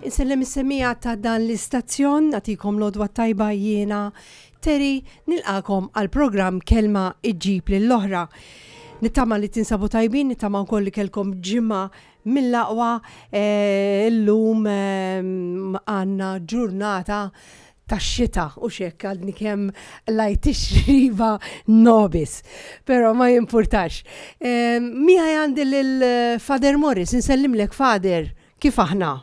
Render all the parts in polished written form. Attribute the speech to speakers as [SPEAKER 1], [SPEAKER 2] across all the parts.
[SPEAKER 1] Insellem is-semija ta' dan l-istazzjon, nagħtikom l-għodwa tajba jiena Terry nilqakom għal programm Kelma iġġib lill-oħra. Nittama li tinsabu tajbin, nittama wkoll li kelkom ġimgħa mill-aqwa eh, illum eh, għandna ġurnata tax-xita u xekk għadni kemm lajt ix-xriba nobis. Però ma jimpurtax. Eh, Miegħi għandi lil Father Morris, insellimlek Father, kif aħna?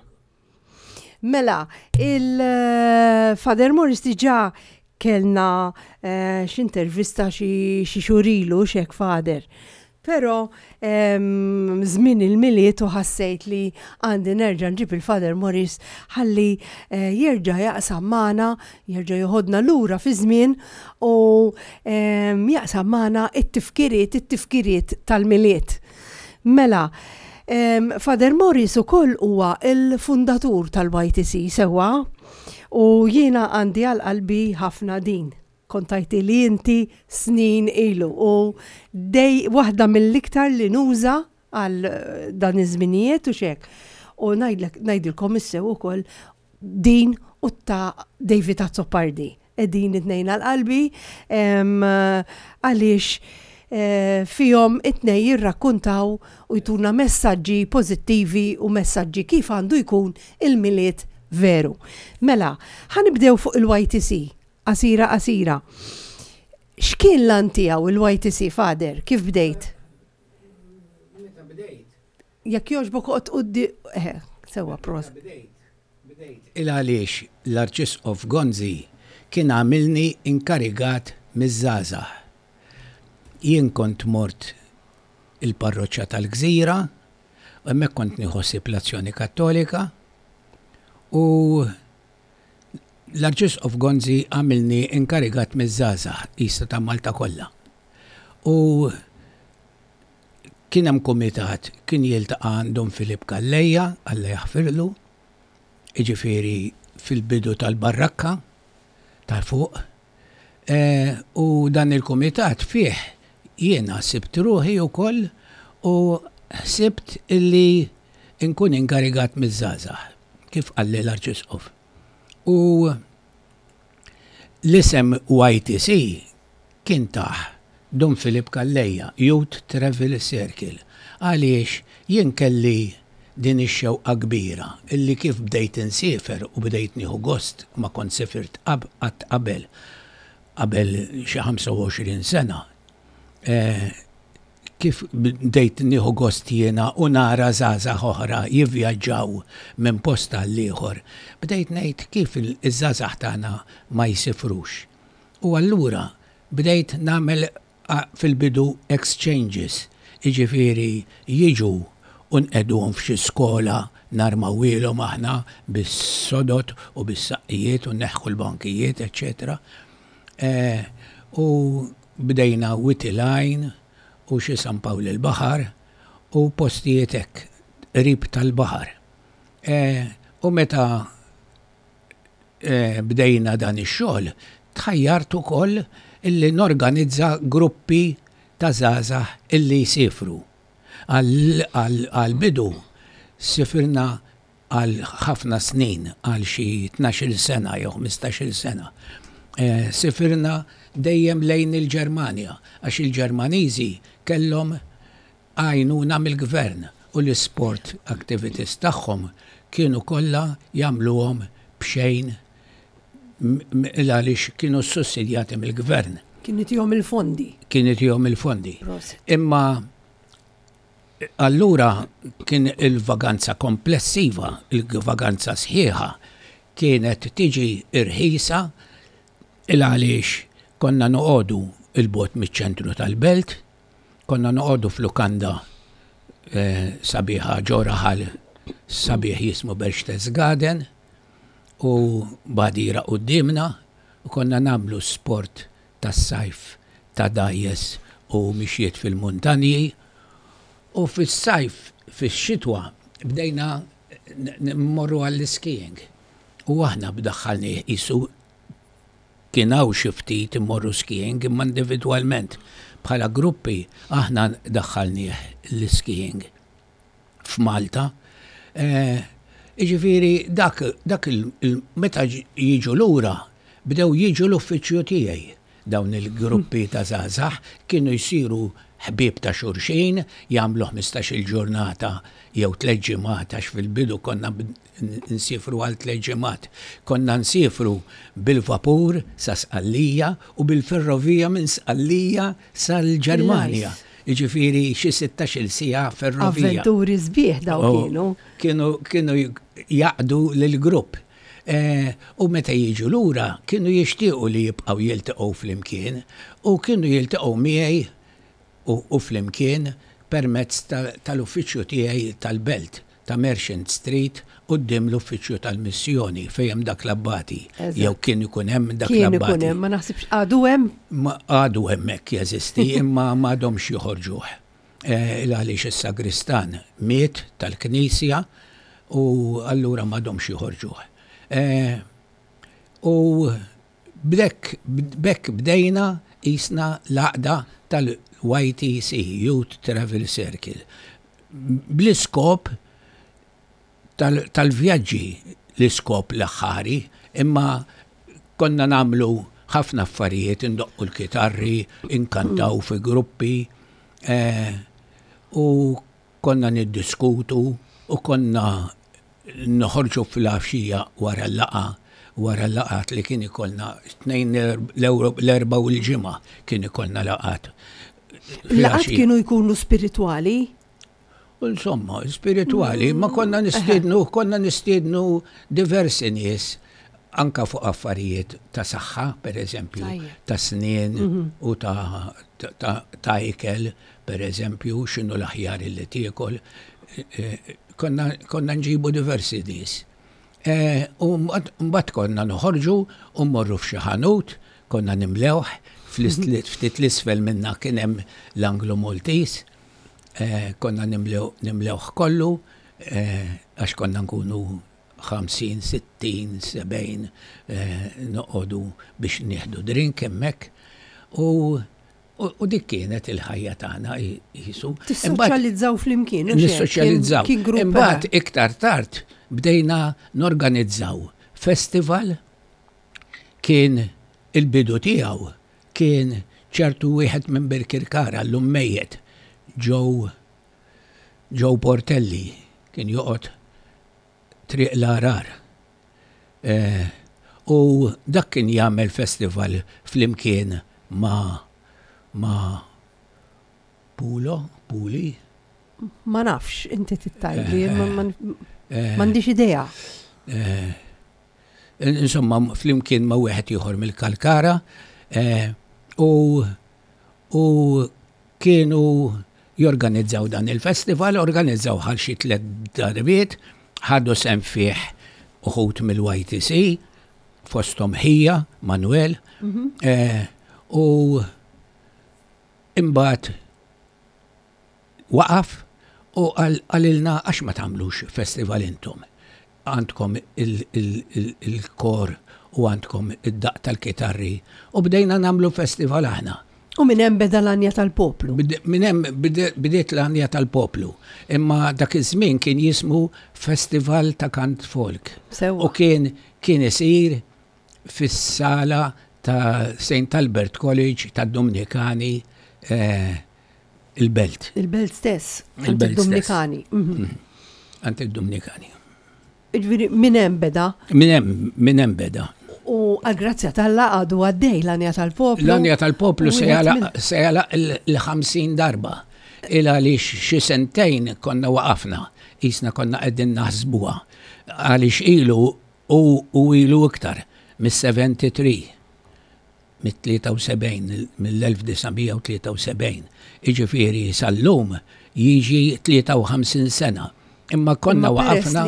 [SPEAKER 1] Mela, il-Father Morris diġà kellna eh, x'intervista xi xhur ilu x'hekk Father. Però żmien il-Milied u ħassejt li għandi nerġa' nġib il-Father Morris ħalli eh, jerġa' jaqsam magħna, jerġa' joħodna lura fi żmien u jaqsam magħna it-tifkiriet, it-tifkiriet tal-Milied. Mela, Father Morris ukoll huwa l-fundatur tal-YTC sewwa u jiena għandi għal qalbi ħafna din. Kont tgħidtili inti snin ilu u dej waħda mill-iktar li nuża għal dan iż-żminijiet u x'hekk. U ngħidlek ngħidilkom issew ukoll din u ta' David Azzopardi. Qegħdin it-tnejn għal qalbi għaliex fihom it-tnejn jirrakkuntaw u jtuna messaġġi pożittivi u messaġġi kif għandu jkun il-Milied veru. Mela, ħa nibdew fuq il-YTC, qasira qasira. X'kien l-għan tiegħu il-YTC, Father? Kif bdejt?
[SPEAKER 2] Meta bdejt?
[SPEAKER 1] Jekk jogħġbok oqgħod quddiem, eħe, sewwa proset.
[SPEAKER 2] Meta bdejt, bdejt il għaliex l-Arċisqof Gonzi kien għamilni inkarigat miż-żgħażagħ. Jien kont mort il-parroċċa tal-Gżira, u hemmhekk kont nieħu ħsieb l-Azzjoni Kattolika, u l-Arċisqof Gonzi għamilni inkarigat miż-żgħażagħ qisha ta' Malta kollha. U. Kien hemm kumitat kien jiltaqa' għand Dun Filip Calleja, Alla jaħfirlu, jiġifieri fil-bidu tal-barrakka ta' fuq. U dan il-kumitat fih jiena sibt ruħi wkoll u ħsibt illi nkun inkarigat miż-żgħażagħ, kif qalli l-Arċisqof. U l-isem YTC kien tah Dun Filip Calleja, Youth Travel Circle, għaliex jien kelli din ix-xewqa kbira illi kif bdejt insiefer u bdejt nieħu gost, ma kont sifirt qatt qabel, qabel xi 25 sena, kif bdejt nieħu gost jiena u nara żgħażagħ oħra jivvjaġġaw minn post għall-ieħor, bdejt ngħid kif iż-żgħażagħ tagħna ma jsifrux. U allura bdejt nagħmel fil-bidu exchanges, jiġifieri jiġu u nqegħduhom f'xi skola narmawhielhom aħna bis-sodod u bis-saqqijiet u nneħħu l-bankijiet eċċetera. U bdejna Wied il-Għajn u xi San Pawl il-Baħar u postijiet hekk qrib tal-baħar. U meta bdejna dan ix-xogħol, tħajjart ukoll illi norganizza gruppi ta' żgħażagħ illi jsiefru. Għall-bidu sifirna għal ħafna snin, għal xi tnax-il sena jew ħmistax-il sena. Sifirna dejjem lejn il-Ġermanja għax il-Ġermaniżi kellhom għajnuna mill-gvern u l-isport activities tagħhom kienu kollha jagħmluhom b'xejn għaliex kienu ssussidjati mill-gvern.
[SPEAKER 1] Kien itihom il-fondi.
[SPEAKER 2] Kien itihom il-fondi. Imma allura kien il-vaganza komplessiva, il-vaganza sħiħa, kienet tiġi irħisa il għaliex konna noqogħdu 'l bogħod miċ-ċentru tal-belt, Konna noqogħdu f'lukanda sabiħa ġo raħal sabiħ jismu Berchtesgaden u b'għadira quddiemna u konna nagħmlu sport tas-sajf ta' dgħajjes u mixjiet fil-muntanji u fis-sajf fix-xitwa bdejna mmorru għall-skiing u aħna b'daħħalnieh qisu Kien hawn xi ftit imorru skiing imma individwalment. Bħala gruppi aħna daħħalnieh l-skiing f'Malta. Jiġifieri dak dak il meta jiġu lura bdew jiġu l-uffiċċju tiegħi. Dawn il-gruppi ta' żgħażagħ kienu jsiru ħbieb ta' xulxin, jagħmlu ħmistax-il ġurnata jew tliet ġimgħat għax fil-bidu konna nsiefru għal tlett ġimgħat. Konna nsiefru bil-vapur sa Sqallija u bil-ferrovija minn Sqallija sal-Ġermanja. Jiġifieri xi sittax-il siegħa ferrovija.
[SPEAKER 1] Avventuri sbieħ dawn kienu.
[SPEAKER 2] Kienu kienu jgħaqqdu lill-grupp. U meta jiġu lura kienu jixtiequ li jibqgħu jiltaqgħu flimkien u kienu jiltaqgħu miegħi u flimkien permezz tal-uffiċċju tiegħi tal-Belt ta' Merchant Street quddiem l-uffiċċju tal-missjoni fejn hemm dak l-abbati jew kien ikun hemm dak l-abbati.
[SPEAKER 1] Kien ikun hemm, ma naħsibx għadu hemm?
[SPEAKER 2] Għadu hemmhekk jeżisti imma m'għadhomx joħorġuh. Il għaliex is-sagristan miet tal-knisja u allura m'għadhomx joħorġuh. U B'hekk b'hekk bdejna qisna l-għaqda tal-YTC, Youth Travel Circle, bl-iskop tal-vjaġġi, l-iskop l-aħħari, imma konna nagħmlu ħafna affarijiet, indoqqu l-kitarri, inkantaw fi gruppi, u konna niddiskutu u konna Noħorġu fil-għaxija wara l-laqgħa, wara l-laqgħat li kien ikollna tnejn l-Erbgħa u l-Ġimgħa kien ikollna laqgħat.
[SPEAKER 1] Laqgħat kienu jkunu spiritwali?
[SPEAKER 2] Insomma, spiritwali, ma konna nistiednu, konna nistiednu diversi nies anka fuq affarijiet ta' saħħa, per eżempju, ta' snien u ta' ikel, per eżempju, x'inhu l-aħjar li tiekol. Konna, konna nġibu diversi nies. E, u mbagħad konna noħorġu u mmorru f'xi ħanut, konna nimlewh, ftit l-isfel minna kien hemm l-Anglo Maltese. Konna nimlewh kollu għax konna nkunu 50, 60, 70 noqogħdu biex nieħdu drink hemmhekk. U U dik kienet il-ħajja tagħna qisu.
[SPEAKER 1] Tissoċjalizzaw flimkien.
[SPEAKER 2] Nissoċjalizzaw. Imbagħad iktar tard bdejna norganizzaw festival kien il-bidu tiegħu kien ċertu wieħed minn Birkirkara llum mejjet Joe Joe Portelli kien joqgħod Triq l-Għarar. U dak kien jagħmel festival flimkien ma' ma' Pulo, Puli.
[SPEAKER 1] Ma nafx, inti tittajli, m'għandix idea.
[SPEAKER 2] Insomma, flimkien ma' wieħed ieħor mill-Kalkara u u kienu jorganizzaw dan il-festival, organizzaw għal xi tliet darbiet, ħadu sehem fih uħud mill-YTC, fosthom ħija, Manuel, u imbagħad Waqaf u qalilna għax ma tagħmlux festival intom. Għandkom il-kor u għandkom id-daqq tal-kitarri u bdejna nagħmlu festival aħna.
[SPEAKER 1] U minn hemm beda l-Għanja tal-Poplu.
[SPEAKER 2] Minn hemm bdiet l-Għanja tal-Poplu. Imma dak iż-żmien kien jismu Festival ta' Kant Folk.
[SPEAKER 1] Sewwa.
[SPEAKER 2] U kien kien isir fis-sala ta' Saint Albert College tad-Dumnikani il-belt.
[SPEAKER 1] Il-belt stess. Il-belt Dumnikani. Mhm.
[SPEAKER 2] Għand id-Dumnikani.
[SPEAKER 1] Ġifieri minn hemm beda.
[SPEAKER 2] Minn hemm minn hemm beda.
[SPEAKER 1] U għal-grazzja t'Alla għadu għaddej l-għanja tal-poplu.
[SPEAKER 2] L-għanja tal-poplu se jagħlaq il-50 darba. Il għaliex xi sentejn konna waqafna, qisna konna qegħdin naħsbuha. Għaliex ilu u ilu iktar mis-73. mit-73, mill-1973, jiġifieri sal-lum jiġi 53 sena. Imma konna waqafna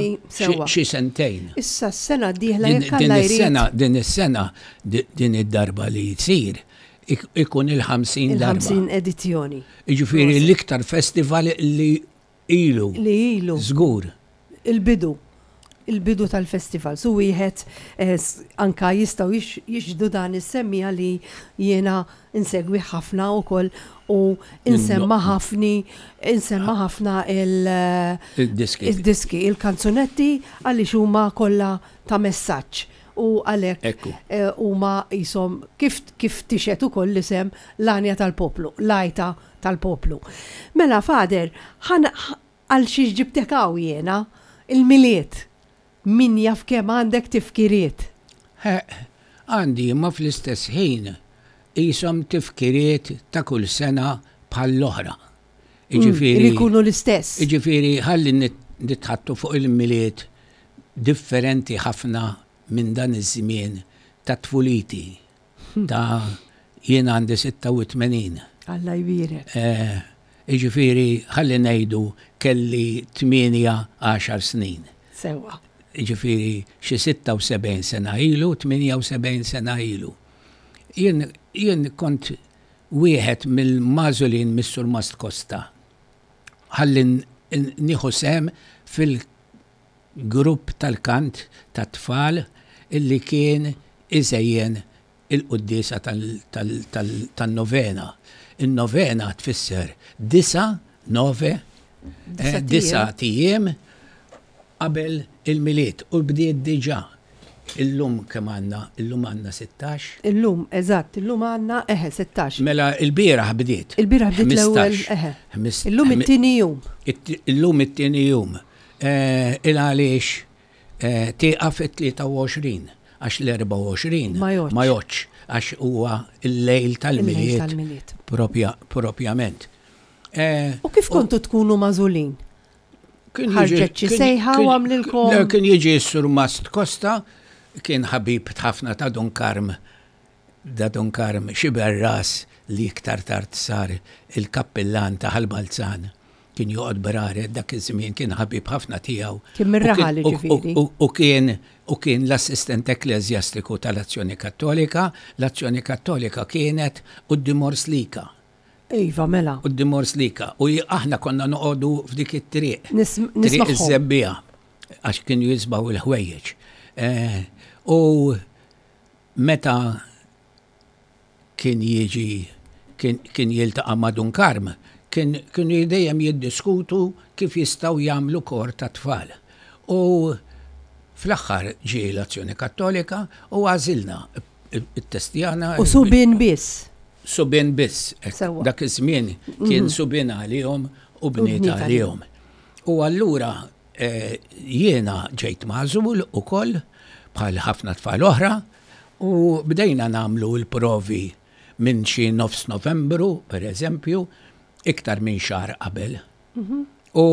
[SPEAKER 2] xi sentejn.
[SPEAKER 1] Issa s-sena d-dieħla jekk Alla jrid.
[SPEAKER 2] Din is-sena, din id-darba li jsir, ikun il-50 darba.
[SPEAKER 1] Il-50 edizzjoni.
[SPEAKER 2] Jiġifieri l-iktar festival li ilu.
[SPEAKER 1] Li ilu.
[SPEAKER 2] Żgur.
[SPEAKER 1] Il-bidu. Il-bidu tal-festival. Su wieħed anka jistgħu jixhdu dan is-semmiegħa li jiena insegwi ħafna wkoll u insemma' ħafni insemma' ħafna il
[SPEAKER 2] Il-diski.
[SPEAKER 1] Il-diski, il-kanzunetti għaliex huma kollha ta' messaġġ u għalhekk huma qishom kif kif tixhed ukoll l-isem l-għanja tal-poplu, l-għajta tal-poplu. Mela, Father, ħa għal xiex ġibtek hawn jiena? Il-Milied. Min jaf kemm għandek tifkiriet.
[SPEAKER 2] Ħeqq, għandi imma fl-istess ħin qishom tifkiriet ta' kull sena bħall-oħra.
[SPEAKER 1] Jiġifieri. Li jkunu l-istess.
[SPEAKER 2] Jiġifieri ħalli nitħaddtu fuq il-Milied differenti ħafna minn dan iż-żmien ta' tfuliti. Ta' jien għandi 86.
[SPEAKER 1] Alla jbierek.
[SPEAKER 2] Jiġifieri ħalli ngħidu kelli tmienja għaxar snin.
[SPEAKER 1] Sewwa.
[SPEAKER 2] Jiġifieri xi 76 sena ilu, 78 sena ilu. Jien jien kont wieħed mill-magħżulin mis-Surmast Costa ħalli nieħu sehem fil grupp tal-kant tat-tfal illi kien iżejjen il-quddiesa tan-novena. In-novena tfisser disa', nove, disat ijiem qabel il-Milied u bdiet diġà. Illum kemm għandna? Illum għandna 16?
[SPEAKER 1] Illum, eżatt, illum għandna, eħe, 16.
[SPEAKER 2] Mela l-bieraħ bdiet.
[SPEAKER 1] Il-bieraħ bdiet l-ewwel, eħe. Illum it-tieni jum.
[SPEAKER 2] Illum it-tieni jum. Il għaliex tieqaf it-23 għax l-24
[SPEAKER 1] Ma
[SPEAKER 2] jgħoddx għax huwa l-lejl tal-Milied propjament.
[SPEAKER 1] U kif kontu tkunu magħżulin? Ħarġet xi sejħa u għamlilkom?
[SPEAKER 2] Kien jiġi s-Surmast Costa, kien ħabib ħafna ta' Dun Karm Da Dun Karm Xiberras li iktar tard sar il-kappillan ta' Ħal Balzan kien joqgħod Braret dak iż-żmien kien ħabib ħafna tiegħu.
[SPEAKER 1] Kien mir-raħal jiġifieri.
[SPEAKER 2] U kien u kien l-assistent ekkleżjastiku tal-Azzjoni Kattolika. L-Azzjoni Kattolika kienet quddiem Orslika.
[SPEAKER 1] Iva, mela.
[SPEAKER 2] Quddiem Orslika. U aħna konna noqogħdu f'dik it-triq. Triq iż-Żebbiegħa. Għax kienu jiżbgħu l-ħwejjeġ. U meta kien jiġi kien jiltaqa' ma' Dun Karm, kien kienu dejjem jiddiskutu kif jistgħu jagħmlu kor tat-tfal. U fl-aħħar ġie l-Azzjoni Kattolika u għażilna, ittestjana.
[SPEAKER 1] U subien biss?
[SPEAKER 2] Subien biss. Sewwa. Dak iż-żmien kien subien għalihom u bniet għalihom. U allura jiena ġejt magħżul ukoll bħal ħafna tfal oħra u bdejna nagħmlu l-provi minn xi nofs Novembru, per eżempju, iktar minn xahar qabel. U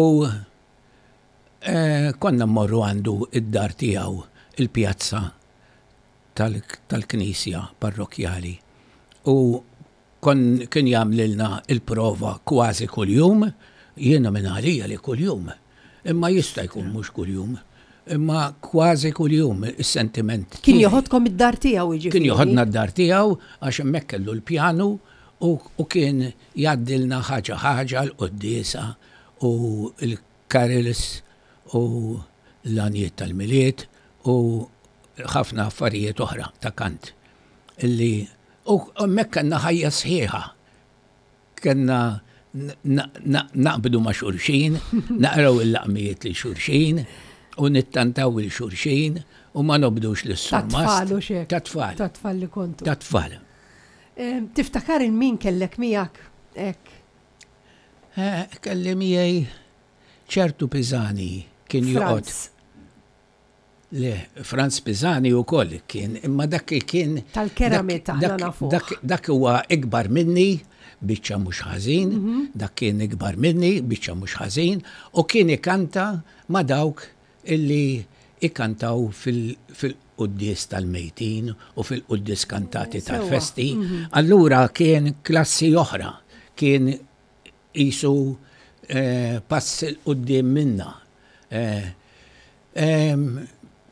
[SPEAKER 2] konna mmorru għandu id-dar tiegħu il-pjazza tal-knisja parrokkjali u kon kien jagħmlilna l-prova kważi kuljum, jiena minn għalija li kuljum, imma jista' jkun mhux kuljum, imma kważi kuljum is-sentiment
[SPEAKER 1] Kien tiegħi. joħodkom id-dar tiegħu jiġifieri?
[SPEAKER 2] Kien joħodna d-dar tiegħu għax hemmhekk kellu l-pjanu u kien jgħaddilna ħaġa ħaġa l-quddiesa u l-carols u l-għanjiet tal-Milied u ħafna affarijiet oħra ta' kant illi u hemmhekk kellna ħajja sħiħa. Kellna naqbdu ma' xulxin, naqraw il-laqmijiet lil xulxin u nittantaw lil xulxin u ma nobdux lis-surmast.
[SPEAKER 1] Ta' tfal u x'hekk.
[SPEAKER 2] Ta' tfal.
[SPEAKER 1] Ta' tfal li kontu.
[SPEAKER 2] Ta' tfal.
[SPEAKER 1] Tiftakar il min kellek miegħek hekk?
[SPEAKER 2] Kelli miegħi ċertu Pisani kien joqgħod. Le, Franz Pisani wkoll kien, imma dak kien.
[SPEAKER 1] Tal-keramit aħna nafuh.
[SPEAKER 2] Dak huwa ikbar minni, biċċa mhux ħażin, dak kien ikbar minni, biċċa mhux ħażin, u kien ikanta ma' dawk illi ikantaw fil-quddies tal-mejtin u fil-quddies kantati tal-festi. Allura kien klassi oħra, kien qisu pass 'il quddiem minna.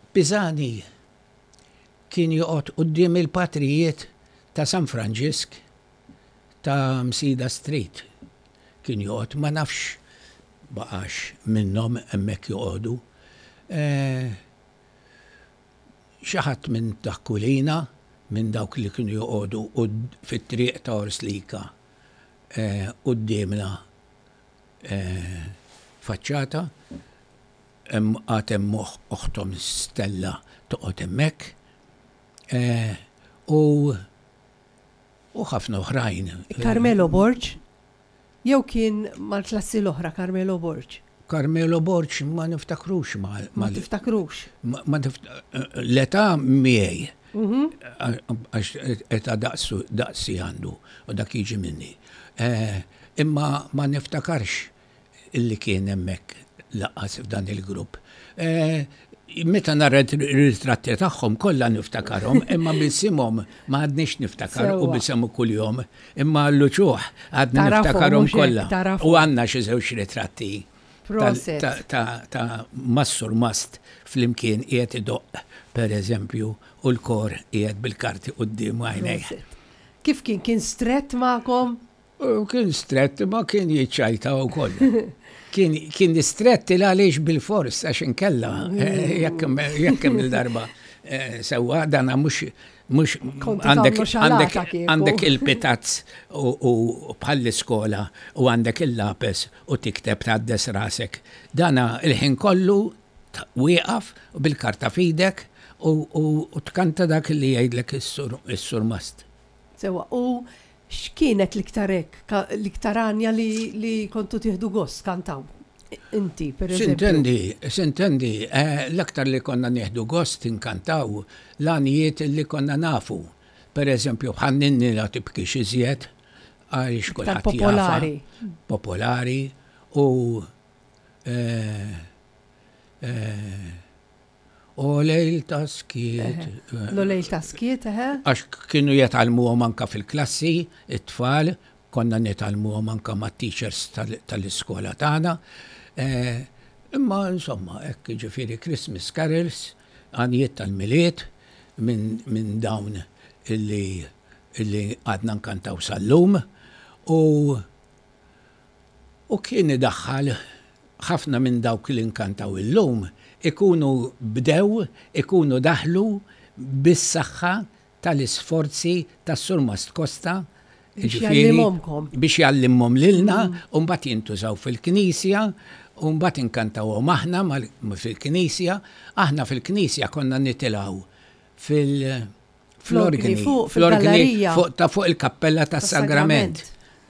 [SPEAKER 2] Pisani kien joqgħod quddiem il-patrijiet ta' San Franġisk ta' Msida Street. Kien joqgħod, ma nafx baqax minnhom hemmhekk joqogħdu. Xi ħadd minn ta' Kulina, minn dawk li kienu joqogħdu fit-triq ta' Orslika quddiemna faċċata, hemm għad hemm oħthom Stella toqgħod hemmhekk, u u ħafna oħrajn.
[SPEAKER 1] Carmelo Borg? Jew kien mal-klassi l-oħra Carmelo Borg?
[SPEAKER 2] Carmelo Borg ma niftakrux ma.
[SPEAKER 1] Ma tiftakrux?
[SPEAKER 2] Ma l-età miegħi. Għax età daqsu daqsi għandu u dak jiġi minni. Imma ma niftakarx illi kien hemmhekk lanqas f'dan il-grupp. Meta nara r-ritratti tagħhom kollha niftakarhom, imma b'isimhom ma għadniex niftakar u b'isem kuljum, imma l-uċuħ għadni niftakarhom kollha. U għandna xi żewġ ritratti ta' mas-surmast flimkien qiegħed idoqq, pereżempju, u l-kor qiegħed bil-karti quddiem għajnejh.
[SPEAKER 1] Kif kien? Kien strett magħkom?
[SPEAKER 2] Kien strett imma kien jiċċajta wkoll. Kien kien strett il għaliex bil-fors għax inkella eh, jekk jekk hemm il-darba eh, sewwa dana mhux mhux għandek għandek għandek il-pitazz u bħall-iskola u għandek il-lapes u tikteb tgħaddes rasek. Dana il-ħin kollu wieqaf bil-karta f'idek u tkanta dak li jgħidlek is-surmast.
[SPEAKER 1] Sewwa, u X'kienet l-iktar hekk, l-iktar għanja li, li kontu tieħdu gost tkantaw? Inti, per eżempju.
[SPEAKER 2] Sintendi, sintendi, l-aktar li konna nieħdu gost inkantaw l-għanjiet li konna nafu. Per eżempju, bħal Ninni la tibkix iżjed, għaliex kulħadd jafha.
[SPEAKER 1] Popolari.
[SPEAKER 2] Popolari u eh, eh, O lejl ta' skiet.
[SPEAKER 1] Lo lejl ta' skiet, eħe.
[SPEAKER 2] Għax kienu jitgħallmuhom anka fil-klassi, it-tfal, konna nitgħallmuhom anka mat-teachers tal-iskola tagħna. Imma insomma, hekk jiġifieri Christmas carols, għanjiet tal-Milied minn dawn illi illi għadna nkantaw sal-lum. U u kien idaħħal ħafna minn dawk li nkantaw illum ikunu bdew, ikunu daħlu bis-saħħa tal-isforzi tas-Surmast Costa,
[SPEAKER 1] Biex jgħallimhomkom.
[SPEAKER 2] Biex jgħallimhom lilna, u mbagħad jintużaw fil-knisja, u mbagħad inkantawhom aħna fil-knisja. Aħna fil-knisja konna nitilgħu fil-
[SPEAKER 1] fl-organi fuq fil-gallerija.
[SPEAKER 2] Fuq ta' fuq il-kappella tas-Sagrament.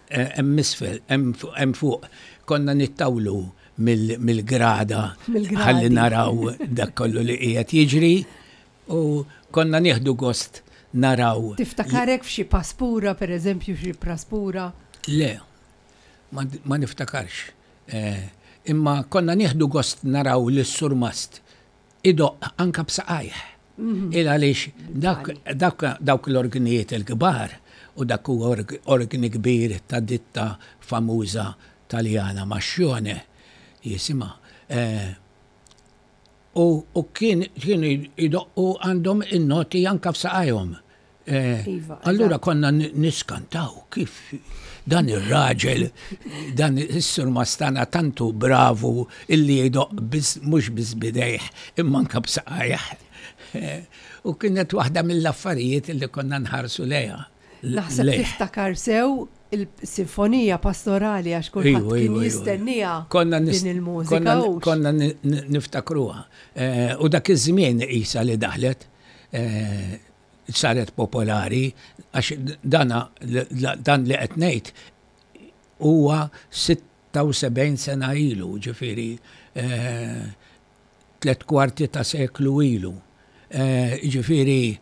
[SPEAKER 2] Eh, hemm isfel, hemm fuq. Konna nittawlu mill-grada ħalli naraw dak kollu li qiegħed jiġri u konna nieħdu gost naraw.
[SPEAKER 1] Tiftakarek f'xi paspura, per eżempju, xi praspura?
[SPEAKER 2] Le, ma niftakarx. Eh, imma konna nieħdu gost naraw lis-surmast idoqq anka b'saqajh. Il għaliex dawk l-orgnijiet il-kbar u dak huwa orgni kbir ta' ditta famuża Taljana Mascione jisimha. Eh, u kien kienu jdoqqu għandhom in-noti anka f'saqajhom. Eh, iva, allura konna niskantaw kif dan ir-raġel, dan is-sur mastana tantu bravu illi jdoq mhux biss bidejh imma anka b'saqajh. Eh, u kienet waħda mill-affarijiet illi konna nħarsu lejha.
[SPEAKER 1] Naħseb tiftakar sew il-sinfonija pastorali għax kulħadd kien jistenniha din il-mużika.
[SPEAKER 2] Konna niftakruha. Eh, u dak iż-żmien isa li daħlet saret popolari għax dana dan li qed ngħid huwa 76 sena ilu, ġifieri eh, tlet kwarti ta' seklu ilu. Eh, ġifieri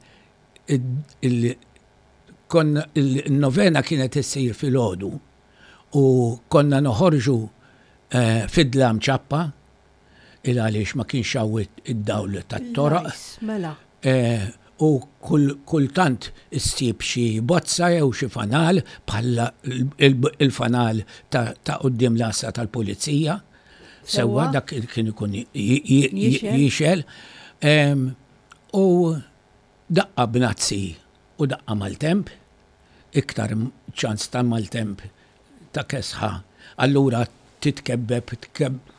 [SPEAKER 2] il-novena kienet issir filgħodu u konna noħorġu eh, fid-dlam ċappa il għaliex ma kienx hawn id-dawl tat-toroq.
[SPEAKER 1] Mela.
[SPEAKER 2] Eh, u kultant issib xi bozza jew xi fanal bħal il-fanal ta' quddiem l-għassa tal-pulizija. Sewwa dak kien ikun jixel. U daqqa b'nazzi u daqqa maltemp, iktar ċans ta' maltemp ta' kesħa, allura titkebbeb,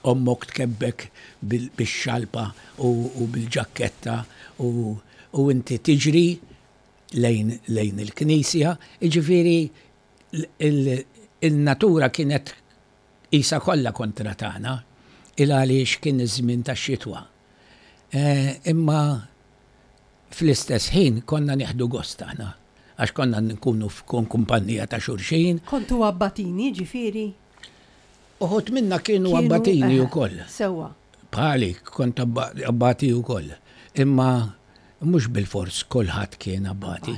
[SPEAKER 2] ommok tkebbek bix-xalpa u bil-ġakketta u inti tiġri lejn lejn il-knisja, jiġifieri il-natura kienet qisha kollha kontra tagħna, il għaliex kien iż-żmien tax-xitwa. Imma Fl-istess ħin konna nieħdu gost aħna, għax konna nkunu f'kumpanija ta' xulxin.
[SPEAKER 1] Kontu abbatini, ġifieri?
[SPEAKER 2] Uħud minna kienu abbatini wkoll.
[SPEAKER 1] Sewwa.
[SPEAKER 2] Bħali, kont abbati wkoll. Imma mhux bilfors kulħadd kien abbati.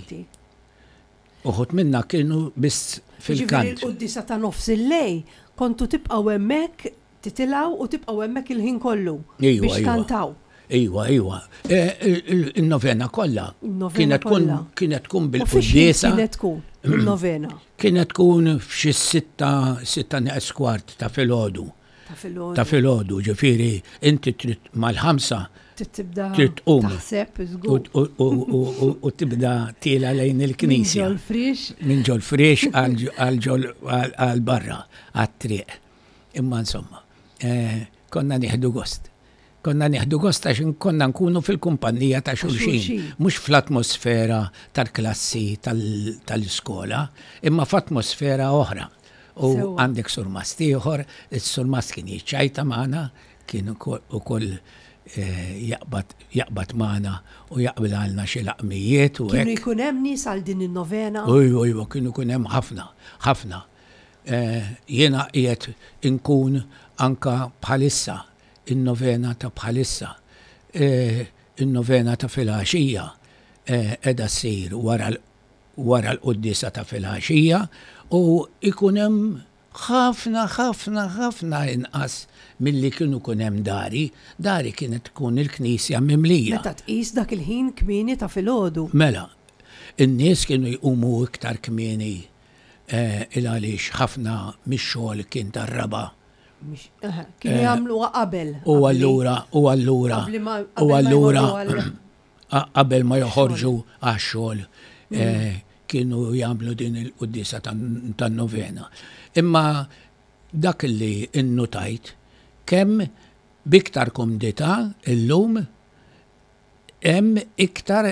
[SPEAKER 2] Uħud minna kienu biss fil-kant.
[SPEAKER 1] Ġifieri l-quddiesa ta' nofs il-lejl kontu tibqgħu hemmhekk Titilgħu u tibqgħu hemmhekk il-ħin kollu biex tkantaw.
[SPEAKER 2] Iwa, iwa. Il-novena kollha. Kienet tkun kienet tkun bil-quddiesa.
[SPEAKER 1] Kienet tkun il-novena.
[SPEAKER 2] Kienet tkun f'xi sitta, sitta neqes kwart ta' filgħodu.
[SPEAKER 1] Ta' filgħodu.
[SPEAKER 2] Ta' filgħodu, ġifieri inti trid mal-ħamsa
[SPEAKER 1] tibda
[SPEAKER 2] trid tqum.
[SPEAKER 1] Taħseb żgur.
[SPEAKER 2] U tibda tiela lejn il-knisja.
[SPEAKER 1] Minn ġol-friex.
[SPEAKER 2] Minn ġol-friex għal barra, għat-triq. Imma insomma, eh, konna nieħdu gost. Konna nieħdu gost għax konna nkunu fil-kumpanija ta' xulxin, mhux fl-atmosfera tal-klassi tal-iskola, imma f'atmosfera oħra. U għandek surmast ieħor, is-surmast kien jiċċajta magħna, kien ukoll eh, jaqbad jaqbad magħna u jaqbilgħalna xi laqmijiet u
[SPEAKER 1] Kienu jkun hemm nies għal din in-novena?
[SPEAKER 2] Ujwa, ujwa, kienu jkun hemm ħafna, ħafna. Jiena qiegħed inkun anka bħalissa, in-novena ta' bħalissa, in-novena ta' filgħaxija qiegħda ssir wara wara l-quddiesa ta' filgħaxija u jkun hemm ħafna ħafna ħafna inqas milli kienu jkun hemm dari. Dari kienet tkun il-knisja mimlija.
[SPEAKER 1] Meta tqis dak il-ħin kmieni ta' filgħodu.
[SPEAKER 2] Mela, in-nies kienu jqumu iktar kmieni Il għaliex ħafna mix-xogħol kien tar-raba'.
[SPEAKER 1] Kienu jagħmluha qabel.
[SPEAKER 2] U allura, u allura, u allura qabel ma joħorġu għax-xogħol mm. kienu jagħmlu din il-quddiesa tan-novena. Imma dak li innutajt kemm b'iktar kumdità illum hemm iktar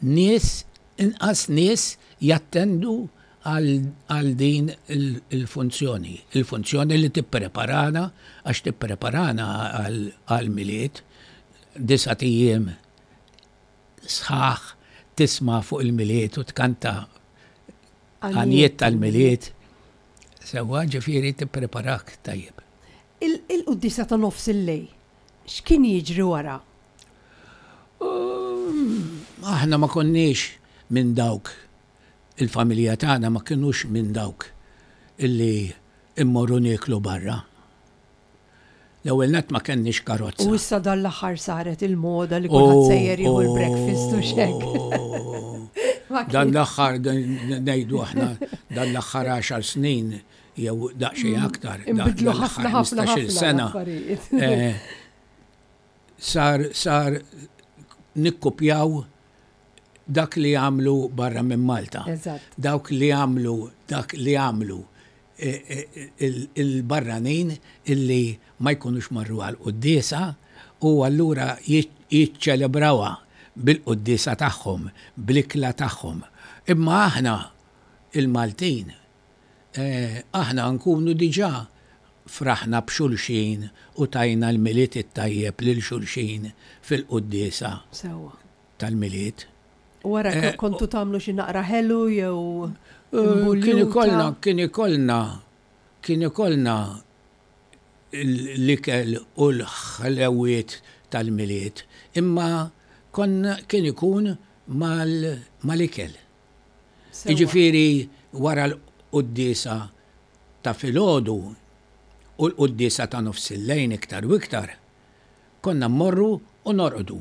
[SPEAKER 2] nies, inqas nies jattendu għal din il-funzjoni. Il-funzjoni li tippreparana, għax tippreparana għall-Milied, disat ijiem sħaħ tisma' fuq il-Milied u tkanta għanjiet tal-Milied. Sewwa, ġifieri tippreparak tajjeb.
[SPEAKER 1] Il-quddiesa ta' nofs il-lejl, x'kien jiġri wara?
[SPEAKER 2] Aħna ma konniex minn dawk, il-familja tagħna ma kinux minn dawk illi mmorru nieklu barra. L-ewwel nett ma kenniex karozza.
[SPEAKER 1] U issa dan l-aħħar saret il-moda li kulħadd sejjer jieħu l-breakfast u x'hekk.
[SPEAKER 2] Dan l-aħħar ngħidu aħna dan l-aħħar għaxar snin jew daqsxejn aktar.
[SPEAKER 1] Inbidlu ħafna ħafna ħafna
[SPEAKER 2] sena. Sar sar nikkupjaw dak li għamlu barra minn Malta. Dawk li għamlu dak li għamlu il-barranin illi ma jkunux marru għall-quddiesa u allura jiċċelebrawha bil-quddiesa tagħhom, bl-ikla tagħhom. Imma aħna il-Maltin, aħna nkunu diġà fraħna b'xulxin u tajna l-Milied it-tajjeb lil xulxin fil-quddiesa tal-Milied.
[SPEAKER 1] U wara kontu tagħmlu xi naqra ħelu jew
[SPEAKER 2] Kien ikollna, kien ikollna, kien ikollna l-ikel u l-ħlewiet tal-Milied, imma konna kien ikun mal-ikel. Jiġifieri wara l-quddiesa ta' filgħodu u l-quddiesa ta' nofsillejn iktar u iktar, konna mmorru u norqdu.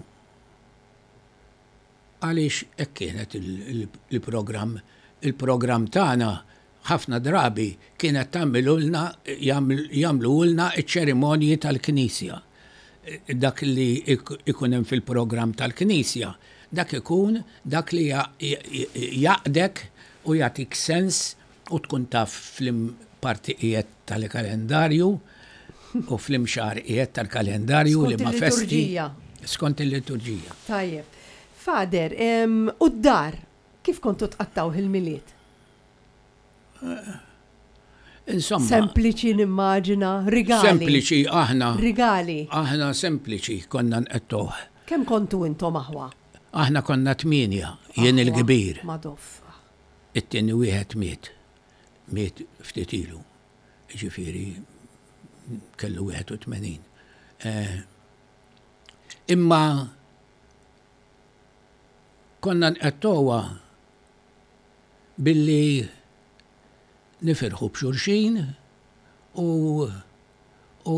[SPEAKER 2] Għaliex hekk kienet il-programm. Il-programm tagħna ħafna drabi kienet tagħmilulna jagħmluhulna ċ-ċerimonji tal-Knisja. Dak li jkun hemm fil-programm tal-Knisja, dak ikun dak li jgħaqqdek u jagħtik sens u tkun taf f'liem parti qiegħed tal-kalendarju u f'liem xahar qiegħed tal-kalendarju, liema festi. Skont il-liturġija.
[SPEAKER 1] Tajjeb. Father, u d-dar, kif kontu tqattgħuh il-Milied?
[SPEAKER 2] Insomma.
[SPEAKER 1] Sempliċi nimmaġina, rigali.
[SPEAKER 2] Sempliċi aħna.
[SPEAKER 1] Rigali.
[SPEAKER 2] Aħna sempliċi konna nqettgħuh.
[SPEAKER 1] Kemm kontu intom aħwa?
[SPEAKER 2] Aħna konna tmienja, jien il-kbir.
[SPEAKER 1] Madoff.
[SPEAKER 2] It-tieni wieħed miet. Miet ftit ilu. Jiġifieri kellu 81. Imma konna nqettgħuha billi nifirħu b'xulxin u u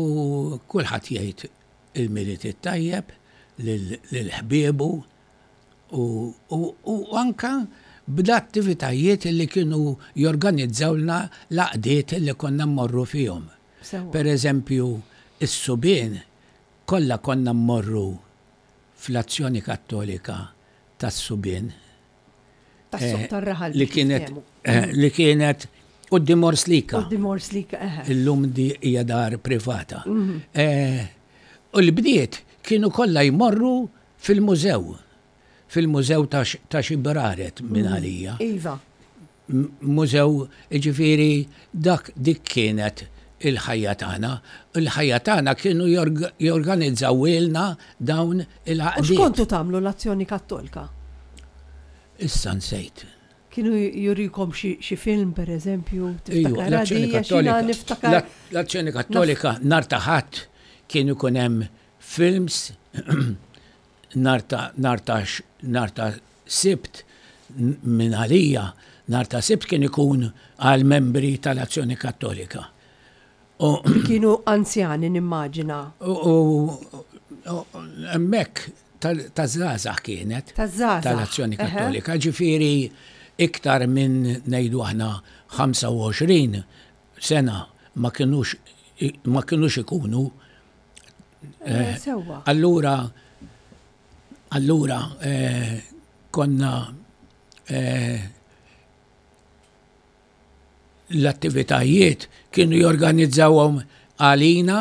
[SPEAKER 2] kulħadd jgħid il-Milied it-tajjeb lil ħbiebu u u anke bl-attivitajiet li kienu jorganizzawlna l-għaqdiet li konna mmorru fihom. Per eżempju, is-subien kollha konna mmorru fl-Azzjoni Kattolika tas-subien.
[SPEAKER 1] Tas-suq tar-raħal.
[SPEAKER 2] Li kienet li kienet quddiem Orslika.
[SPEAKER 1] Quddiem Orslika, eħe.
[SPEAKER 2] Illum di hija dar privata. U l-bniet kienu kollha jmorru fil-mużew. Fil-mużew ta' xi braret minn għalija.
[SPEAKER 1] Iva.
[SPEAKER 2] Mużew, jiġifieri dak dik kienet il-ħajja tagħna. Il-ħajja tagħna kienu jorganizzawhielna dawn il-għaqdiet.
[SPEAKER 1] U x'kontu tagħmlu l-Azzjoni Kattolka?
[SPEAKER 2] Issa nsejt.
[SPEAKER 1] Kienu jurikom xi film per eżempju?
[SPEAKER 2] Ejwa, l-Azzjoni Kattolika. L-Azzjoni Kattolika nhar ta' Ħadd kien ikun hemm films nhar ta' nhar ta' nhar ta' Sibt minn għalija, nhar ta' Sibt kien ikun għal membri tal-Azzjoni Kattolika.
[SPEAKER 1] U kienu anzjani nimmaġina.
[SPEAKER 2] U hemmhekk taż-żgħażagħ kienet.
[SPEAKER 1] Taż-żgħażagħ.
[SPEAKER 2] Tal-Azzjoni Kattolika, ġifieri iktar minn ngħidu aħna 25 sena ma kinux ma kinux ikunu.
[SPEAKER 1] Eh, sewwa.
[SPEAKER 2] Allura Allura konna L-attivitajiet kienu jorganizzawhom għalina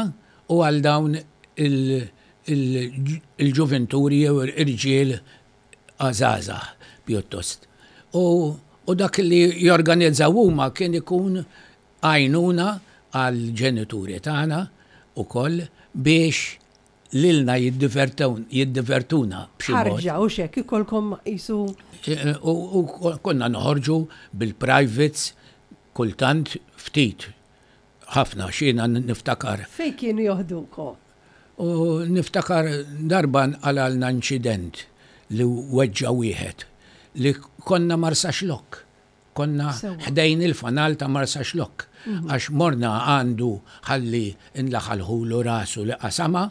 [SPEAKER 2] u għal dawn il-ġuventuri jew irġiel żgħażagħ pjuttost. U dak li jorganizzaw huma kien ikun għajnuna għall-ġenituri tagħna wkoll biex lilna jiddivertuna
[SPEAKER 1] b'xi mod. Ħarġa u x'hekk ikollkom qisu.
[SPEAKER 2] U konna noħorġu bil-privates kultant ftit, ħafna għax jiena niftakar.
[SPEAKER 1] Fejn kienu joħdukom?
[SPEAKER 2] U niftakar darba nqalgħalna inċident li weġġa' wieħed li konna Marsaxlokk. Konna ħdejn il-fanal ta' Marsaxlokk għax morna għandu ħalli nlaħalħulu rasu li qasama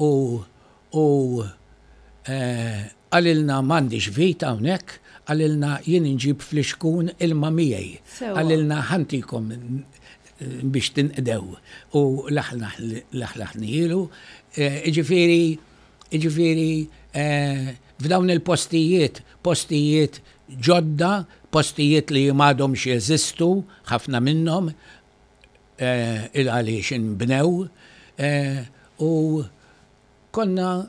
[SPEAKER 2] u u qalilna m'għandix vit hawnhekk, qalilna jien inġib flixkun ilma miegħi. Qalilna ħa ntikom biex tinqdew u laħlaħnielu. Jiġifieri jiġifieri f'dawn il-postijiet, postijiet ġodda, postijiet li m'għadhomx jeżistu, ħafna minnhom, il għaliex inbnew, u konna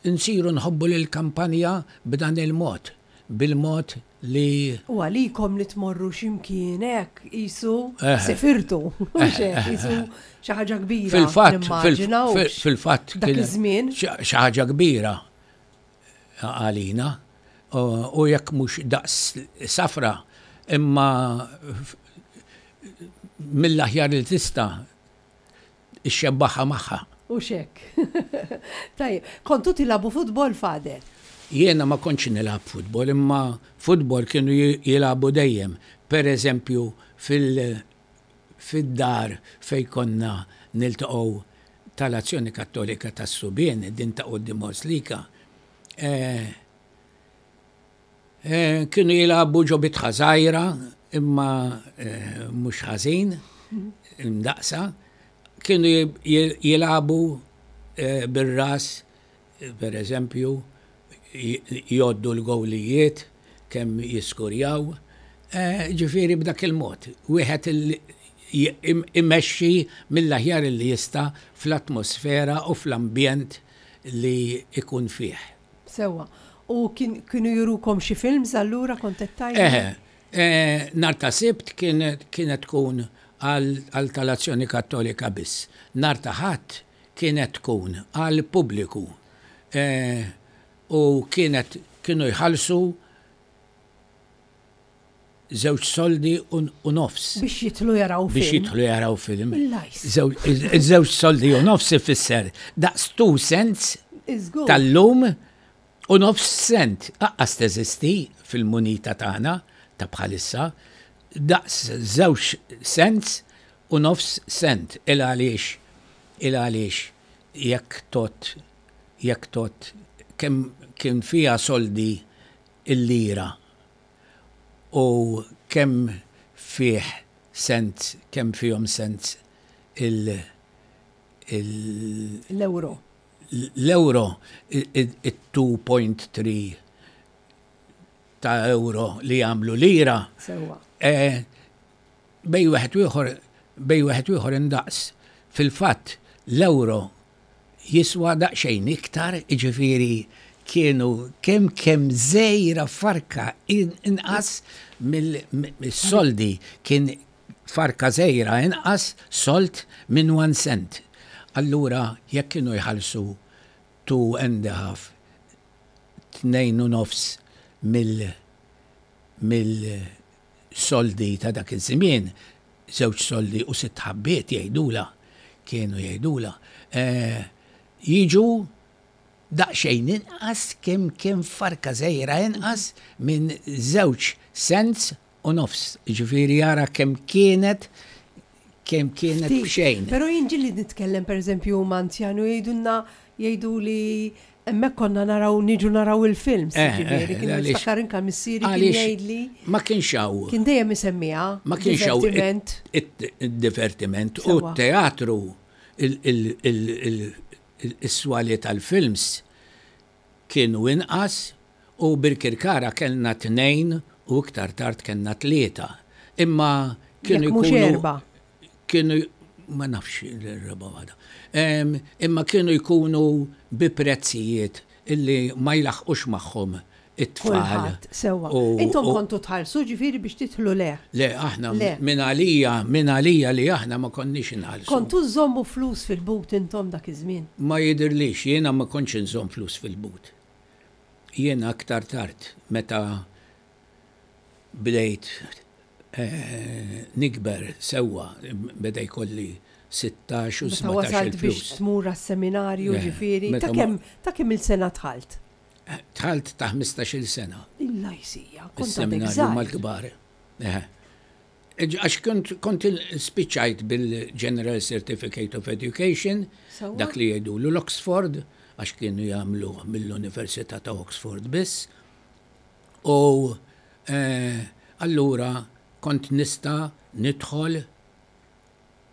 [SPEAKER 2] nsiru nħobbu lill-kampanja b'dan il-mod, bil-mod li.
[SPEAKER 1] U għalikom li tmorru xi mkien hekk qisu sifirtu, mhux hekk, qisu xi ħaġa kbira.
[SPEAKER 2] Fil-fatt, fil-fatt.
[SPEAKER 1] Dak iż-żmien.
[SPEAKER 2] Xi ħaġa kbira. għalina u jekk mhux daqs safra imma mill-aħjar li tista' ixxebbaħha magħha.
[SPEAKER 1] Hux hekk. Tajjeb, kontu tilagħbu futbol Father?
[SPEAKER 2] Jiena ma kontx nilgħab futbol imma futbol kienu jilagħbu dejjem. Per eżempju fil fid-dar fejn konna niltaqgħu tal-Azzjoni Kattolika tas-Subien, din ta' quddiem Oslika, kienu jilagħbu ġo bitħa żgħira imma mhux ħażin, imdaqqsa, kienu jilagħbu bir-ras Per eżempju, jgħoddu l-gowlijiet, kemm jiskurjaw. Ġifieri b'dak il-mod, wieħed imexxi mill-aħjar li jista' fl-atmosfera u fl-ambjent li jkun fih.
[SPEAKER 1] Sewwa. U kienu jurukom xi films allura kont qed tgħidli?
[SPEAKER 2] Eħe. Nhar ta' Sibt kienet tkun għal tal-Azzjoni Kattolika biss. Nhar ta' Ħadd kienet tkun għall-pubbliku u kienet kienu jħallsu żewġ soldi u nofs.
[SPEAKER 1] Biex jidħlu jaraw
[SPEAKER 2] film. Biex jidħlu jaraw film. Żewġ soldi u nofs ifisser daqs 2 cents tal-lum u nofs cent. Aqqas teżisti fil-munita tagħna ta' bħalissa daqs żewġ cents u nofs cent il għaliex il għaliex jekk tgħodd jekk tgħodd kemm kien fiha soldi l-lira u kemm fih cents kemm fihom cents il il
[SPEAKER 1] L-ewro.
[SPEAKER 2] L-ewro it-2.3 ta' ewro li jagħmlu lira.
[SPEAKER 1] Sewwa.
[SPEAKER 2] Bejn wieħed u ieħor bejn wieħed u ieħor indaqs. Fil-fatt l-ewro jiswa daqsxejn iktar, jiġifieri kienu kemm kemm żgħira farka inqas mill-soldi kien farka żgħira inqas sold minn one cent. Allura jekk kienu jħallsu two and a half, 2.5 mill mill soldi ta' dak iż-żmien, żewġ soldi u sitt ħabbiet jgħidulha, kienu jgħidulha, jiġu daqsxejn inqas kemm kemm farka żgħira inqas minn żewġ cents u nofs. Jiġifieri ara kemm kienet kemm kienet b'xejn.
[SPEAKER 1] Però jien ġieli nitkellem pereżempju ma' anzjani u jgħidulna jgħiduli hemmhekk konna naraw niġu naraw il-films, jiġifieri kien niftakar inka missieri kien jgħidli.
[SPEAKER 2] Ma kienx hawn.
[SPEAKER 1] Kien dejjem isemmiha.
[SPEAKER 2] Ma kienx hawn id-divertiment u t-teatru is-swali tal-films kienu inqas u Birkirkara kellna tnejn u iktar tard kellna tlieta. Imma. Kienu
[SPEAKER 1] Jekk mhux
[SPEAKER 2] jkunu
[SPEAKER 1] erba'.
[SPEAKER 2] Kienu ma nafx il-raba' waħda. Imma kienu jkunu bi prezzijiet illi ma jlaħħqux magħhom it-tfal.
[SPEAKER 1] Kulħadd, sewwa. Intom kontu tħallsu ġifieri biex tidħlu le?
[SPEAKER 2] Le, aħna minn għalija, minn għalija li aħna ma konniex inħallsu.
[SPEAKER 1] Kontu żżommu flus fil-but intom dak iż-żmien?
[SPEAKER 2] Ma jidhirlix, jiena ma kontx inżomm flus fil-but. Jiena aktar tard meta bdejt nikber sewwa, beda jkolli 16 u 17 il-flus.
[SPEAKER 1] Meta wasalt biex tmur għas-seminarju ġifieri, ta' kemm ta' kemm-il sena dħalt?
[SPEAKER 2] Dħalt ta' 15-il sena.
[SPEAKER 1] Illa jsija, kont għadek
[SPEAKER 2] Is-seminarju
[SPEAKER 1] żgħir.
[SPEAKER 2] mal-kbar. Eħe. Għax kont kont spiċċajt bil-General Certificate of Education,
[SPEAKER 1] Sewwa.
[SPEAKER 2] dak li jgħidulu l-Oxford, għax kienu jagħmluh mill-Università ta' Oxford biss. U allura kont nista' nidħol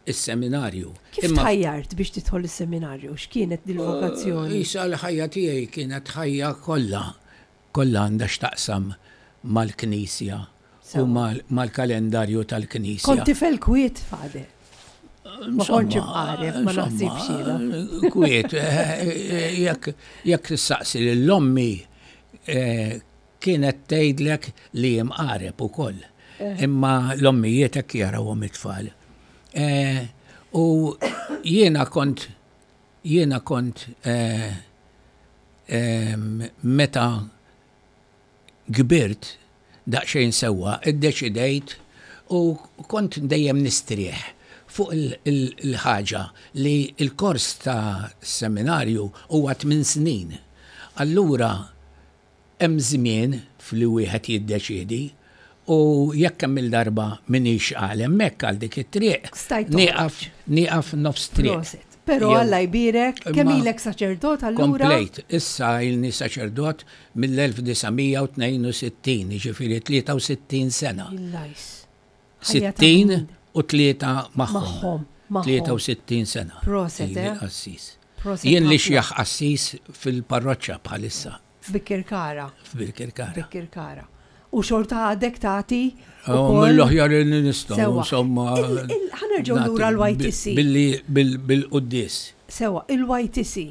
[SPEAKER 2] is-seminarju.
[SPEAKER 1] Kif tħajjart biex tidħol is-seminarju? X'kienet dil-vokazzjoni?
[SPEAKER 2] Isa l-ħajja tiegħi kienet ħajja kollha, kollha għandha x'taqsam mal-Knisja u mal-kalendarju tal-Knisja.
[SPEAKER 1] Kont tifel kwiet, Father? Ma kontx imqareb, ma naħsibx jiena.
[SPEAKER 2] Kwiet, jekk tistaqsi lil ommi kienet tgħidlek li imqareb ukoll. Imma l-ommijiet hekk jarawhom it-tfal. U jiena kont jiena kont meta kbirt daqsxejn sewwa iddeċidejt u kont dejjem nistrieħ fuq il-ħaġa li l-kors ta' seminarju huwa tminn snin. Allura hemm żmien f'li wieħed jiddeċiedi u jekk kemm-il darba m'iniex għal hemmhekk għal dik it-triq, nieqaf nieqaf nofs triq.
[SPEAKER 1] Proset. Però Alla jbierek, kemm ilek saċerdot allura?
[SPEAKER 2] Komplejt, issa ilni saċerdot mill-1962, jiġifieri 63 sena.
[SPEAKER 1] Illajs.
[SPEAKER 2] 60 u tlieta magħhom.
[SPEAKER 1] Magħhom, magħhom.
[SPEAKER 2] 63 sena.
[SPEAKER 1] Proset,
[SPEAKER 2] Ili
[SPEAKER 1] eh?
[SPEAKER 2] qassis.
[SPEAKER 1] Proset
[SPEAKER 2] Jien li
[SPEAKER 1] ħafna.
[SPEAKER 2] xjaħ qassis fil-parroċċa bħalissa.
[SPEAKER 1] F'Bikirkara.
[SPEAKER 2] F'Birkirkara.
[SPEAKER 1] F'Birkirkara. U xorta għadek tagħti
[SPEAKER 2] Oh,
[SPEAKER 1] ukoll.
[SPEAKER 2] Mill-aħjar li nistgħu,
[SPEAKER 1] Sewwa.
[SPEAKER 2] insomma.
[SPEAKER 1] Il- il- Ħa nerġgħu
[SPEAKER 2] nagħti
[SPEAKER 1] lura l-YTC.
[SPEAKER 2] Billi bil-quddies.
[SPEAKER 1] Sewwa, il-YTC.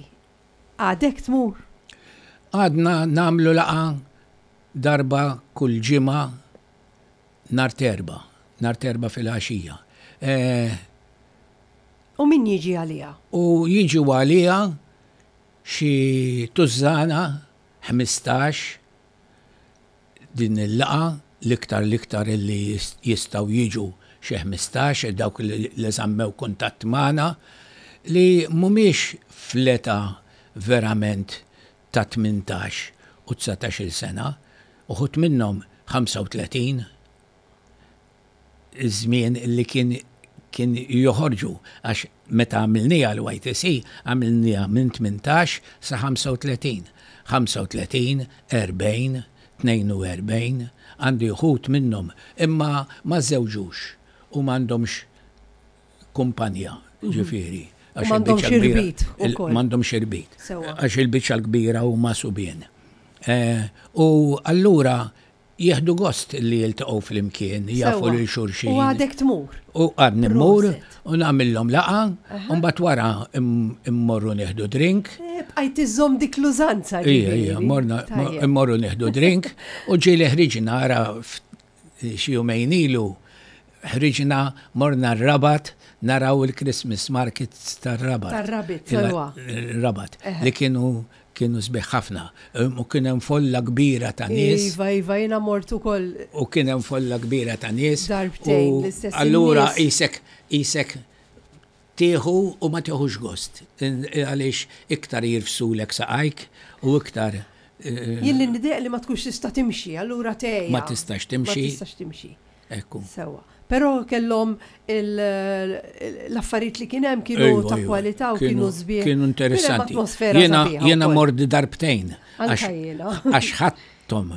[SPEAKER 1] Għadek tmur?
[SPEAKER 2] Għadna nagħmlu laqgħa darba kull ġimgħa nhar t'Erbgħa, nhar t'Erbgħa filgħaxija. Eh,
[SPEAKER 1] U min jiġi għaliha?
[SPEAKER 2] U jiġu għaliha xi tużżana, 15, din il-laqgħa, l-iktar l-iktar illi jistgħu jiġu xi 15, dawk li żammew kuntatt magħna, li mhumiex fl-età verament ta' 18 u 19-il sena, uħud minnhom 35, iż-żmien li kien kien joħorġu għax meta għamilniha l-YTC għamilniha minn 18 sa 35. 35, 40, 42, għandi uħud minnhom imma ma żżewġux u m'għandhomx kumpanja, ġifieri.
[SPEAKER 1] U m'għandhomx irbit ukoll.
[SPEAKER 2] M'għandhomx irbit.
[SPEAKER 1] Sewwa.
[SPEAKER 2] Għax il-biċċa l-kbira huma subien. U allura jieħdu gost li jiltaqgħu flimkien, jafu lil xulxin.
[SPEAKER 1] U għadek tmur.
[SPEAKER 2] U għadni mmur u nagħmilhom laqgħa, u mbagħad wara immorru nieħdu drink.
[SPEAKER 1] Eh, bqajt iżżomm dik l-użanza.
[SPEAKER 2] Ija, ija, morna immorru nieħdu drink u ġieli ħriġna ara xi jumejn ilu ħriġna morna r-Rabat naraw il-Christmas markets tar-Rabat.
[SPEAKER 1] Tar-Rabat, sewwa.
[SPEAKER 2] Rabat, li kienu kienu sbieħ ħafna. U kien hemm folla kbira ta' nies.
[SPEAKER 1] Iva, iva, jiena mort ukoll.
[SPEAKER 2] U kien hemm folla kbira ta' nies.
[SPEAKER 1] Darbtejn l-istess.
[SPEAKER 2] Allura qisek qisek tieħu u ma tieħux gost. Għaliex iktar jirfsulek saqajk u iktar.
[SPEAKER 1] Jien li nidejq li ma tkunx tista' timxi, allura tgħejja.
[SPEAKER 2] Ma tistax timxi.
[SPEAKER 1] Ma tistax timxi.
[SPEAKER 2] Ekku.
[SPEAKER 1] Sewwa. Però kellhom l-affarijiet li kien hemm kienu ta' kwalità u kienu sbieħ.
[SPEAKER 2] Kienu interessanti. Jiena jiena mort darbtejn.
[SPEAKER 1] Anka jiena.
[SPEAKER 2] Għax ħadthom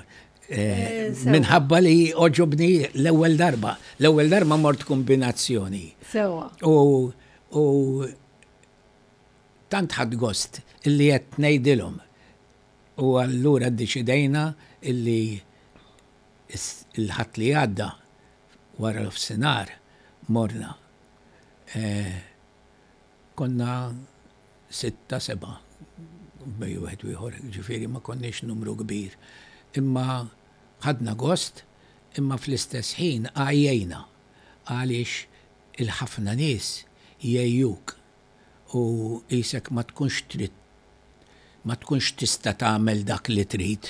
[SPEAKER 2] minħabba li għoġobni l-ewwel darba. L-ewwel darba mort kombinazzjoni.
[SPEAKER 1] Sewwa.
[SPEAKER 2] U u tant ħadt gost illi qed ngħidilhom. U allura ddeċidejna illi il-Ħadd li għadda wara nofsinhar. Morna. Konna sitta, sebgħa bejn wieħed u ieħor, jiġifieri ma konniex numru kbir. Imma ħadna gost, imma fl-istess ħin għajjejna għaliex il-ħafna nies jgħejjuk u qisek ma tkunx trid ma tkunx tista' tagħmel dak li trid,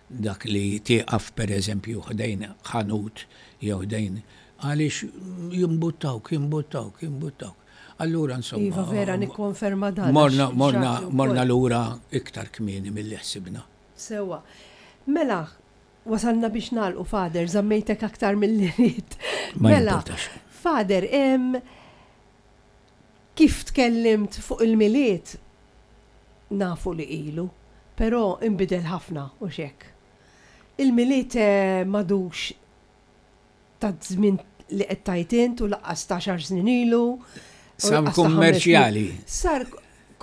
[SPEAKER 2] dak li tieqaf pereżempju ħdejn ħanut jew ħdejn għaliex jimbuttawk, jimbuttawk, jimbuttawk. Allura insomma.
[SPEAKER 1] Iva vera nikkonferma dan.
[SPEAKER 2] Morna, morna, morna lura iktar kmieni milli ħsibna.
[SPEAKER 1] Sewwa. Mela, wasalna biex nagħlqu Father, żammejtek aktar milli ridt.
[SPEAKER 2] Mela,
[SPEAKER 1] Father, Kif tkellimt fuq il-Milied nafu li ilu, però inbidel ħafna, hux hekk? Il-Milied m'għadux taż-żmien li qed tgħid int u lanqas ta' għaxar snin ilu.
[SPEAKER 2] Sar kummerċjali.
[SPEAKER 1] Sar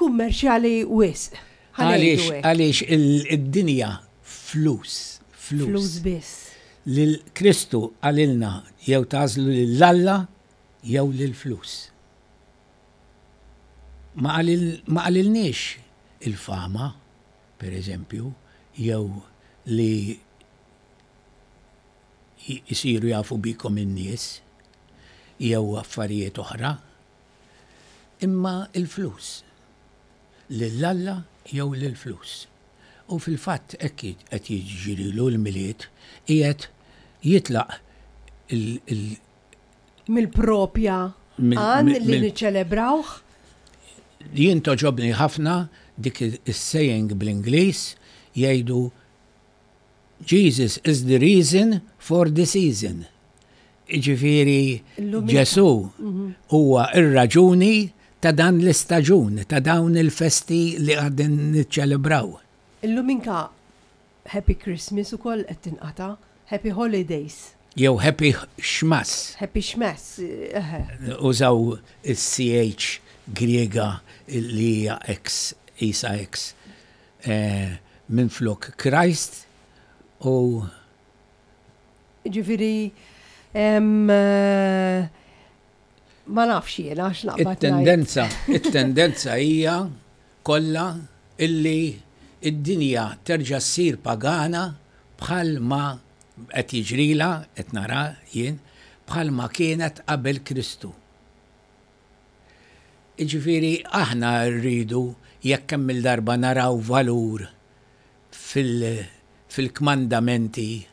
[SPEAKER 1] kummerċjali wisq.
[SPEAKER 2] Għaliex għaliex id-dinja flus, flus.
[SPEAKER 1] Flus biss.
[SPEAKER 2] Lil Kristu qalilna jew tagħżlu lil Alla jew lill-flus. Ma qalilniex il-fama, per eżempju, jew li jsiru jafu bikom in-nies, jew affarijiet oħra, imma l-flus. Lil Alla jew lill-flus. U fil-fatt hekk qed jiġrilu l-Milied, qiegħed jitlaq il
[SPEAKER 1] Mill-propja għan li niċċelebrawh.
[SPEAKER 2] Jien togħġobni ħafna dik is-saying bl-Ingliż jgħidu Jesus is the reason for the season. Jiġifieri Ġesù huwa r-raġuni ta' dan l-istaġun, ta' dawn il-festi li qegħdin niċċelebraw.
[SPEAKER 1] Illum inka Happy Christmas ukoll qed tinqata', Happy Holidays.
[SPEAKER 2] Jew Happy Xmas.
[SPEAKER 1] Happy Xmas, eħe.
[SPEAKER 2] Użaw is-CH Griega li hija X, qisha X, minflok Christ u.
[SPEAKER 1] Jiġifieri, ma nafx jiena x'naqbad ngħid.
[SPEAKER 2] It-tendenza, it-tendenza hija kollha illi d-dinja terġa' ssir pagana bħal ma qed jiġrilha, qed nara jien, bħal ma kienet qabel Kristu. Jiġifieri aħna rridu jekk kemm-il darba naraw valur fil-kmandamenti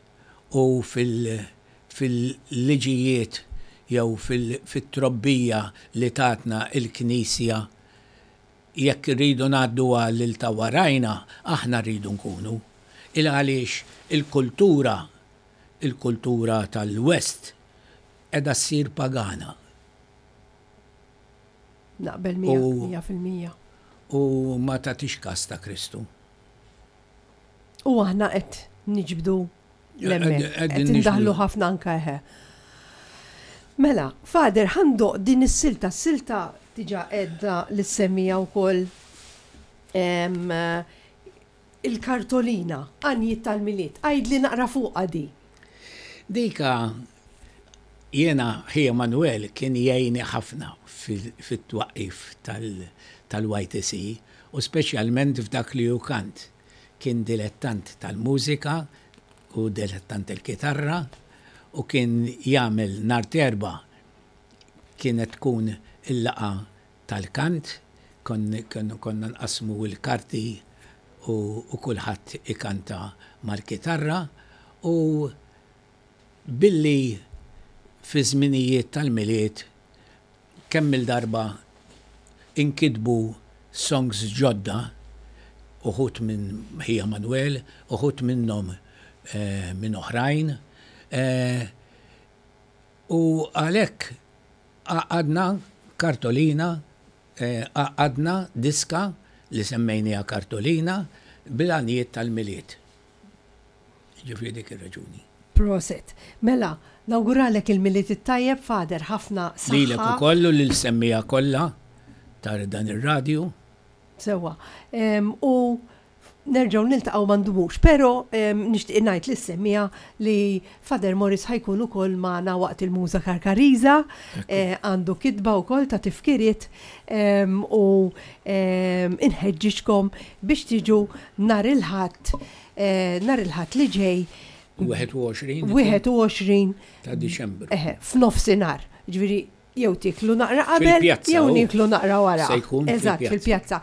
[SPEAKER 2] u fil-liġijiet jew fit-trobbija li tatna l-Knisja jekk irridu ngħadduha lil ta' warajna, aħna rridu nkunu. Il għaliex il-kultura, il-kultura tal-West qiegħda ssir pagana.
[SPEAKER 1] Naqbel miegħek 100%.
[SPEAKER 2] U ma tagħtix kas ta' Kristu.
[SPEAKER 1] U aħna qed niġbdu l-hemmhekk. Qed indaħħlu ħafna anke eħe. Mela, Father, ħa ndoqq din is-silta, s-silta diġà għedna li ssemmija wkoll il-kartolina, għanjiet tal-Milied. Għidli naqra fuqha di.
[SPEAKER 2] Dika jiena ħija Manuel kien jgħinni ħafna fit-twaqqif tal-YTC u speċjalment f'dak li hu kant. Kien dilettant tal-mużika u dilettant il-kitarra u kien jagħmel nhar t'Erbgħa kienet tkun il-laqgħa tal-kant, konna nqassmu l-karti u kulħadd ikanta mal-kitarra u billi fi żminijiet tal-Milied kemm-il darba inkitbu songs ġodda, uħud minn ħija Manuel, uħud minnhom minn oħrajn, u għalhekk għaqqadna kartolina, għaqqadna diska li semmejniha Kartolina bil-għanjiet tal-Milied. Jiġifieri dik ir-raġuni.
[SPEAKER 1] Proset. Mela, nawguralek il-Milied it-tajjeb, Father, ħafna saħħa.
[SPEAKER 2] Lilek ukoll u lill-semmiegħa kollha ta' dan ir-radju.
[SPEAKER 1] Sewwa. U Nerġgħu niltaqgħu ma ndumux, però nixtieq ngħid lis-semmiegħa li Father Morris ħa jkun ukoll magħna waqt il-Muża Karkariża, għandu kitba wkoll ta' tifkiriet u inħeġġiġkom biex tiġu nhar il-Ħadd, nhar il-Ħadd li ġej.
[SPEAKER 2] 21.
[SPEAKER 1] 21
[SPEAKER 2] ta' Diċembru.
[SPEAKER 1] Eħe, f'nofsinhar. Ġifieri jew tieklu naqra qabel jew nieklu naqra wara.
[SPEAKER 2] Se jkun
[SPEAKER 1] Eżatt, fil-pjazza.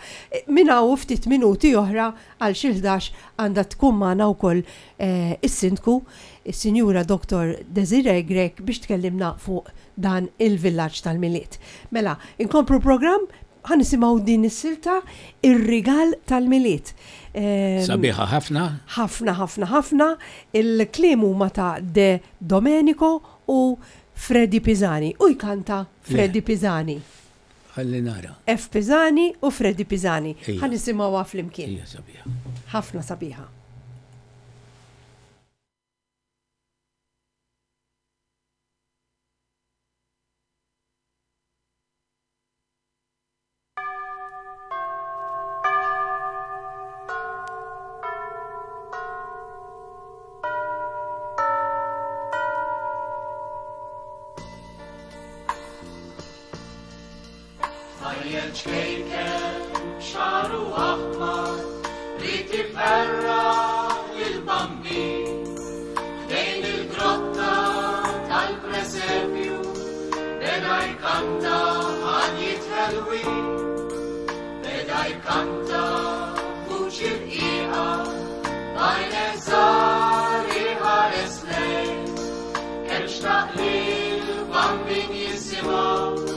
[SPEAKER 1] Minn hawn ftit minuti oħra għal xi 11 għandha tkun magħna wkoll eh, is-Sindku, is-Sinjura Dr. Desiree Grech biex tkellimna fuq dan il-villaġġ tal-Milied. Mela, inkomplu programm ħa nisimgħu din is-silta Ir-rigal tal-Milied.
[SPEAKER 2] Sabiħa ħafna.
[SPEAKER 1] Ħafna, ħafna, ħafna. Il-kliem huma ta' De Domenico u Freddie Pisani u jkanta Freddie Pisani.
[SPEAKER 2] Ħalli nara.
[SPEAKER 1] F. Pisani u Freddie Pisani. Ħa nisimgħuha flimkien.
[SPEAKER 2] Hija sabiħa.
[SPEAKER 1] Ħafna sabiħa.
[SPEAKER 3] Tfajjel ċkejken b'xagħru aħmar ried iferraħ lill-Bambin. Ħdejn il-grotta tal-presepju beda jkanta għanjiet ħelwin. Beda jkanta b'vuċi rqiqa b'għajnejh żgħar iħares lejn. Kemm xtaq li l-Bambin jisimgħu,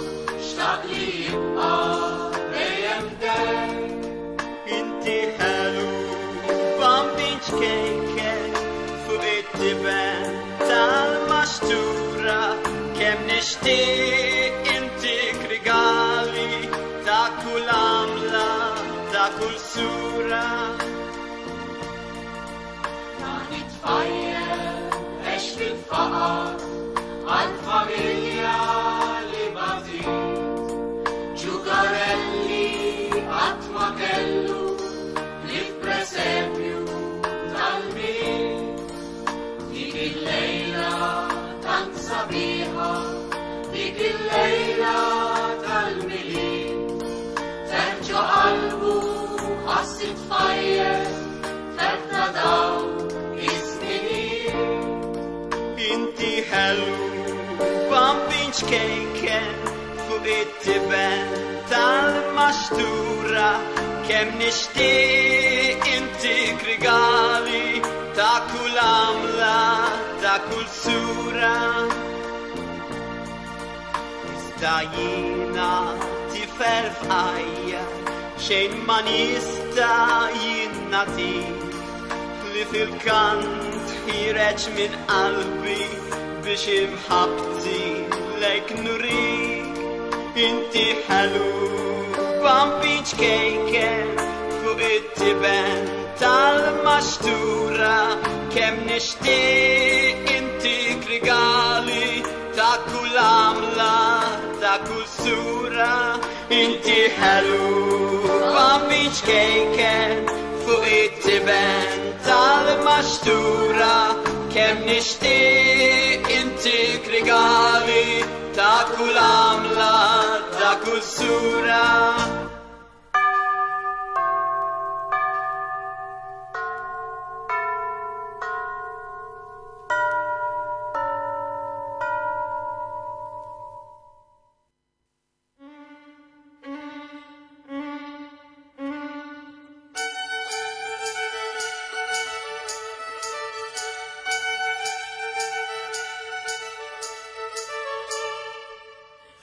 [SPEAKER 3] xtaq li jibqa' dejjem ħdejn.
[SPEAKER 4] Inti ħelu Bambin ċkejken fuq it-tiben tal-maxtura kemm nixtieq intik rigali ta' kull għamla ta' kull sura.
[SPEAKER 3] Dan it-tfajjel għex fil-faqar għal familja li batiet. Ġugarelli qatt ma kellu ħlief presepju tal-Milied. Dik il-lejla tant sabiħa, dik il-lejla tal-Milied. Ferħ ġo qalbu ħass it-tfajjel, ferħ ta' dawk iż-żminijiet.
[SPEAKER 4] Inti ħelu Bambin ċkejken fuq it-tiben tal-maxtura kemm nixtieq intik rigali ta' kull għamla ta' kull sura. Iżda jiena tifel fqajjar xejn ma nista' jien nagħtik li fil-kant ħireġ minn qalbi biex imħabbti lejk nurik. Inti ħelu Bambin ċkejken fuq it-tiben tal-maxtura kemm nixtieq intik rigali ta' kull għamla ta' kull sura. Inti ħelu Bambin ċkejken fuq it-tiben tal-maxtura kemm nixtieq intik rigali ta' kull għamla ta' kull sura.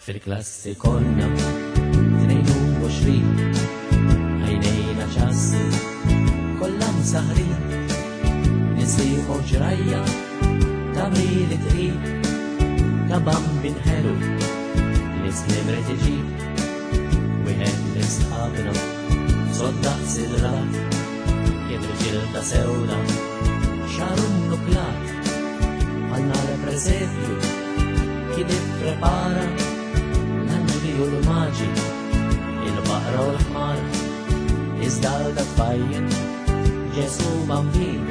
[SPEAKER 5] Fil-klassi konna 22 għajnejna ċassi kollha msaħrin nisieħu ġrajja ta' mili tqil ta' bambin ħelu li slim rid iġib wieħed minn sħabna soddaq sidrat kien irġiel ta' sewda xaru nuklat għal nar presepju kien ipprepara l-anġli u l-maġi, il-baqra u l-ħmar, iżda għal dak tfajjel. Ġesu Bambin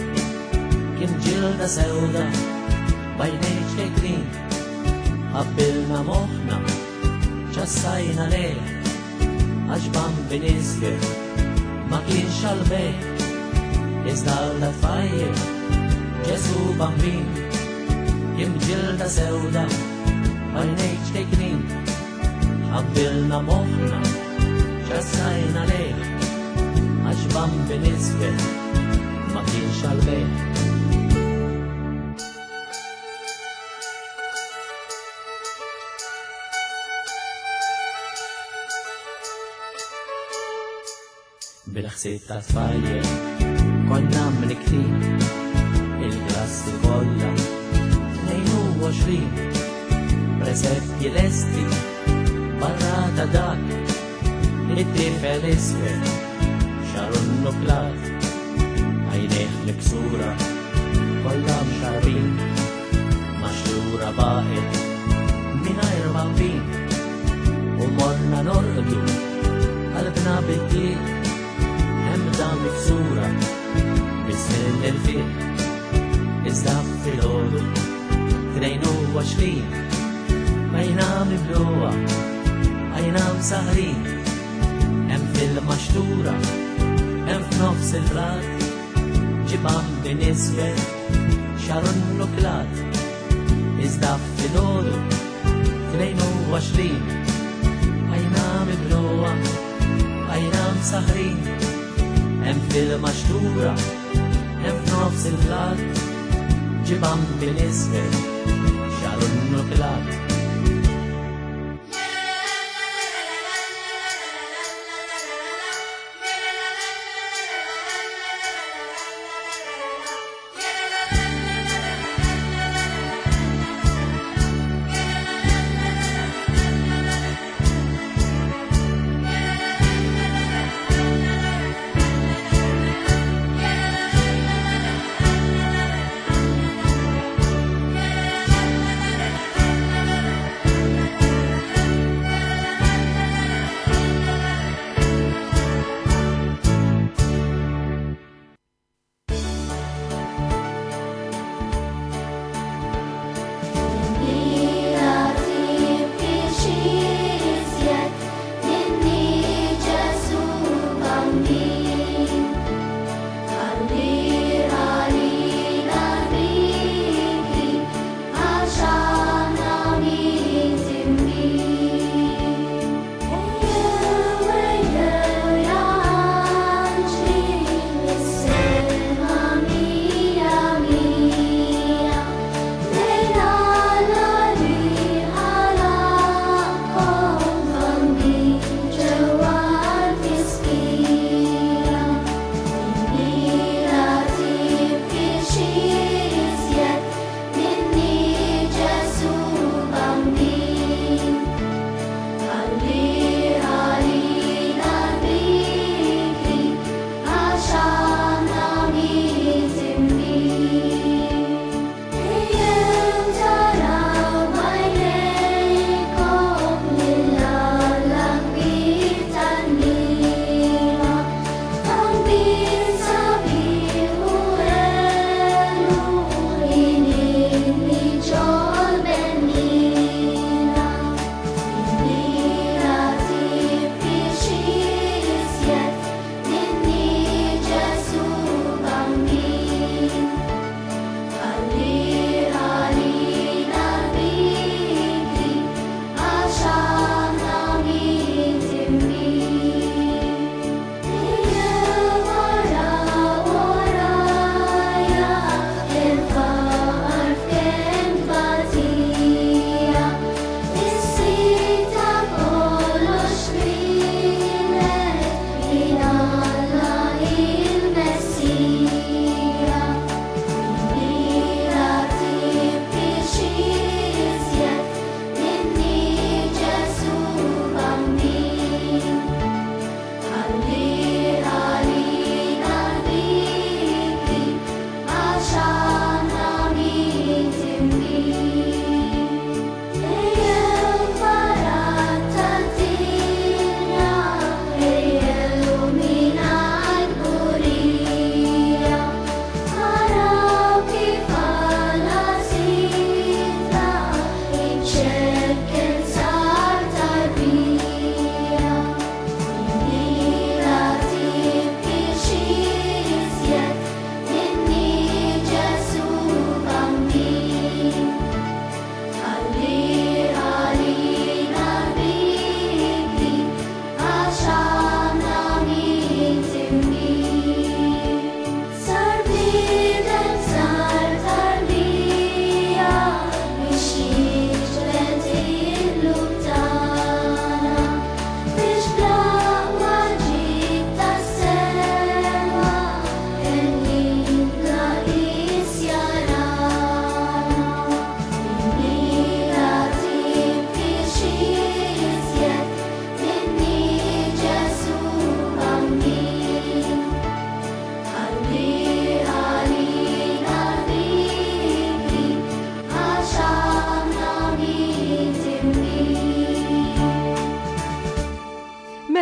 [SPEAKER 5] kien ġilda sewda b'għajnejh ċkejknin. Ħabbilna moħħna ċassajna lejh għax Bambin iżgħir ma kienx għall-bejgħ. Iżda għal tfajjel Ġesu Bambin kien ġilda sewda b'għajnejh ċkejknin. Ħabbilna moħħna ċassajna lejh għax Bambin iżgħir ma kienx għall-bejgħ. Bil-ħsieb ta' tfajjel konna mniktin il-klassi kollha 22 presepji lesti barra ta' dak it-tifel isfel xaru nuklat għajnejh miksura kollha mxarbin maxtura baqgħet mingħajr bambin u morna norqdu qalbna bid-dieq ħemda miksura biż-żmien il-fiq iżda filgħodu 22 bajna mibluha bajna msahrin hemm fil-maxtura hemm f'nofs il-blat ġie Bambin iswed xaru nnuklat iżda filgħodu 22 bajna mibluha bajna msahrin hemm fil-maxtura hemm f'nofs il-blat ġie Bambin iswed xaru nnuklat.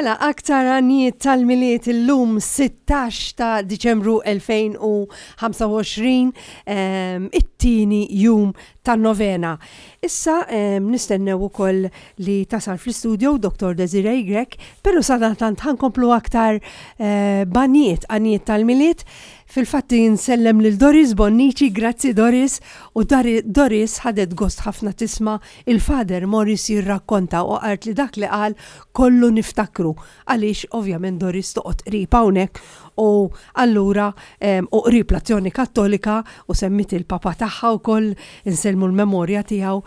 [SPEAKER 1] Mela, aktar għanjiet tal-Milied illum 16 ta' Diċembru 2025, it-tieni jum tan-novena. Issa nistennew ukoll li tasal fl-istudio Dr. Desiree Grech, pero sadantant ħankomplu aktar eh, baniet, għanjiet tal-Milied. Fil-fatt insellem lil Doris Bonnici, grazzi Doris, u Doris ħadet gost ħafna tisma' il-Father Morris jirrakkonta u qalt li dak li qal kollu niftakru għaliex ovvjament Doris toqgħod qrib hawnhekk u allura u qrib l-Azzjoni Kattolika u semmiet il-papa tagħha wkoll insellmu l-memorja tiegħu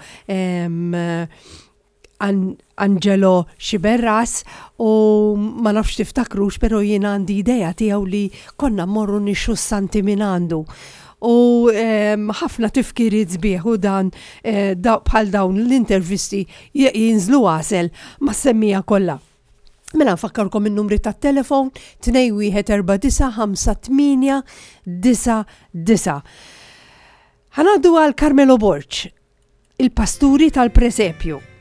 [SPEAKER 1] Angelo Sciberras u ma nafx tiftakrux pero jien għandi idea tiegħu li konna mmorru nixxu s-santi minn għandu. U ħafna tifkiriet sbieħ u dan eh, bħal dawn l-intervisti jinżlu għasel mas-semmija kollha. Mela nfakkarkom in-numri tat-telefon 21495899. Ħanaddu għal Carmelo Borg, il-pasturi tal-presepju.